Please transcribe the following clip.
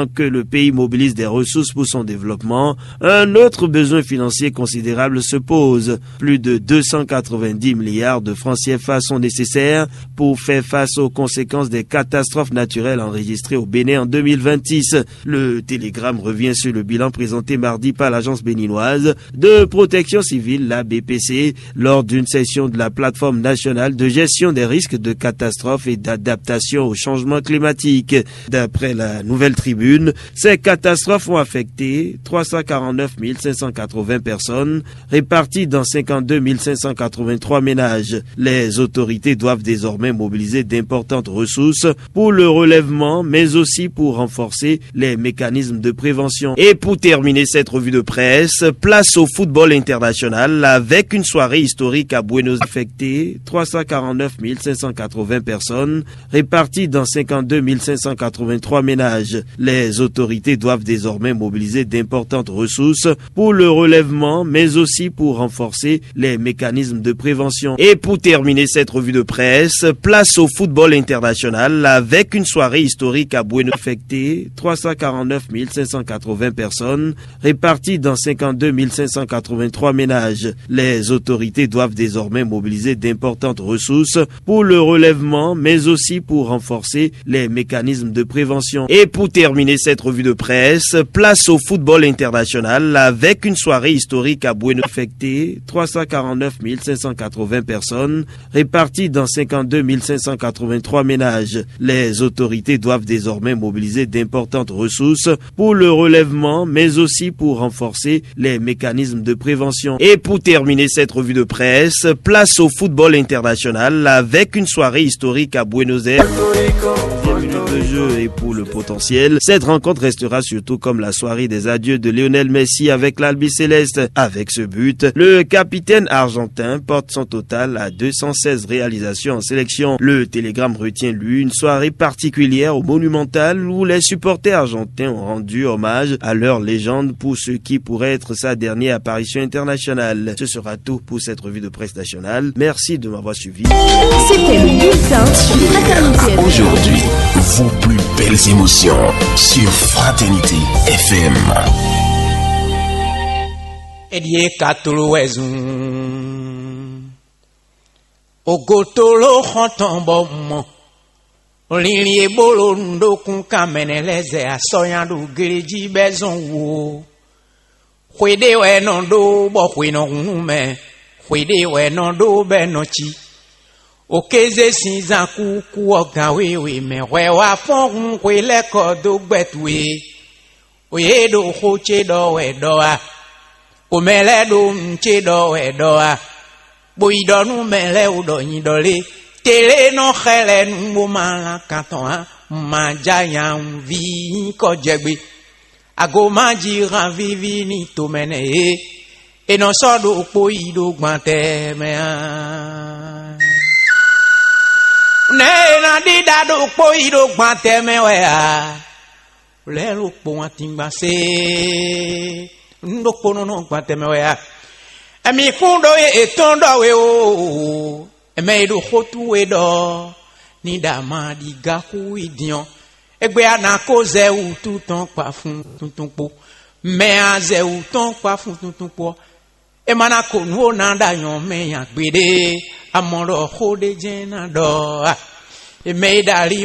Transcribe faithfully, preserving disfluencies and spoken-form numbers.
que le pays mobilise des ressources pour son développement, un autre besoin financier considérable se pose. Plus de deux cent quatre-vingt-dix milliards de francs C F A sont nécessaires pour faire face aux conséquences des catastrophes naturelles enregistrées au Bénin en deux mille vingt-six. Le Télégramme revient sur le bilan présenté mardi par l'agence béninoise de protection civile, la B P C, lors d'une session de la plateforme nationale de gestion des risques de catastrophes et d'adaptation au changement climatique. D'après la Nouvelle Tribune, ces catastrophes ont affecté trois cent quarante-neuf mille cinq cent quatre-vingts personnes, réparties dans cinquante-deux mille cinq cent quatre-vingt-trois ménages. Les autorités doivent désormais mobiliser d'importantes ressources pour le relèvement, mais aussi pour renforcer les mécanismes de prévention. Et pour terminer cette revue de presse, place au football international avec une soirée historique à Buenos Aires. Affecté trois cent quarante-neuf mille cinq cent quatre-vingts personnes, réparties dans cinquante-deux mille cinq cent quatre-vingt-trois ménages. Les autorités doivent désormais mobiliser d'importantes ressources pour le relèvement, mais aussi pour renforcer les mécanismes de prévention. Et pour terminer cette revue de presse, place au football international avec une soirée historique à Buenos Aires. Affecté trois cent quarante-neuf mille cinq cent quatre-vingts personnes, réparties dans cinquante-deux mille cinq cent quatre-vingt-trois ménages. Les autorités doivent désormais mobiliser d'importantes ressources pour le relèvement, mais aussi pour renforcer les mécanismes de prévention. Et pour terminer cette revue de presse, place au football international avec une soirée historique à Buenos Aires. Affecté trois cent quarante-neuf mille cinq cent quatre-vingts personnes, réparties dans cinquante-deux mille cinq cent quatre-vingt-trois ménages. Les autorités doivent désormais mobiliser d'importantes ressources pour le relèvement, mais aussi pour renforcer les mécanismes de prévention. Et pour terminer cette revue de presse, place au football international avec une soirée historique à Buenos Aires. Onzième minute de jeu et pour le potentiel, cette rencontre restera surtout comme la soirée des adieux de Lionel Messi avec l'Albi Céleste. Avec ce but, le capitaine argentin porte son total à deux cent seize réalisations en sélection. Le Télégramme retient, lui, une soirée particulière au Monumental où les supporters argentins ont rendu hommage à leur légende pour ce qui pourrait être sa dernière apparition internationale. Ce sera tout pour cette revue de presse nationale. Merci de m'avoir suivi. C'était le bulletin sur Fraternité F M. Aujourd'hui, vos plus belles émotions sur Fraternité F M. Eɖie katolo wɛ zun. Ogotolo xɔntɔn bɔ mɔ. Linlin e bolo nɖokun kan mɛnɛ lɛ́ɛ zɛ asɔnya ɖo glejí bɛ zɔn wo. Xwe ɖé wɛ nɔ ɖó bɔ xwe nɔ hun nú mɛ. Xwe ɖé wɛ nɔ ɖó bɛ nɔ cí. Okéze sín zán kúkú ɔ́ gǎn wěwé mɛ hwɛ wá fɔ́n hun xwe lɛ́ kɔ dó gbɛ towe. O yě ɖo xó ce ɖɔ wɛ ɖɔ a? O mɛ lɛ́ɛ ɖo nǔ ce ɖɔ wɛ ɖɔ a? Bó yi ɖɔ nú mɛ lɛ́ɛ wú ɖɔ nyi ɖɔ lé? Tele nɔ xɛ lɛ nú bó ma lan kan tɔn ǎ. Ma ja nyaví nyí kɔ jɛ gbe. Ago ma ji han víví ní tomɛ nɛ é. È nɔ sɔ́ ɖokpó yi ɖó gbantɛ mɛ ǎ. Nɛ̌ è nɔ ɖíɖá ɖokpó yi ɖó gbantɛ mɛ wɛ ǎ? Lɛ̌ ɖokpó wántíngbasé. Nǔ ɖokpónɔ nɔ gbantɛ mɛ wɛ ǎ. Ɛmí kún ɖó yě ètɔn ɖɔ we o. Ɛmɛ e ɖo xó tú we ɖɔ ní ɖa ma ɖi ga xú yi din ɔ́, égbé a nǎ kó zɛ wǔtu tɔn kpa fun tuntun kpó. Mɛ a zɛ wǔ tɔn kpa fun tuntun kpó ɔ́, é ma ná ko nǔ ó ná ɖo anyɔ̌ mɛ nya gbeɖé. A mɔ ɖɔ xó ɖé jɛ́n ná ɖɔ a? È mɛ e ɖo ali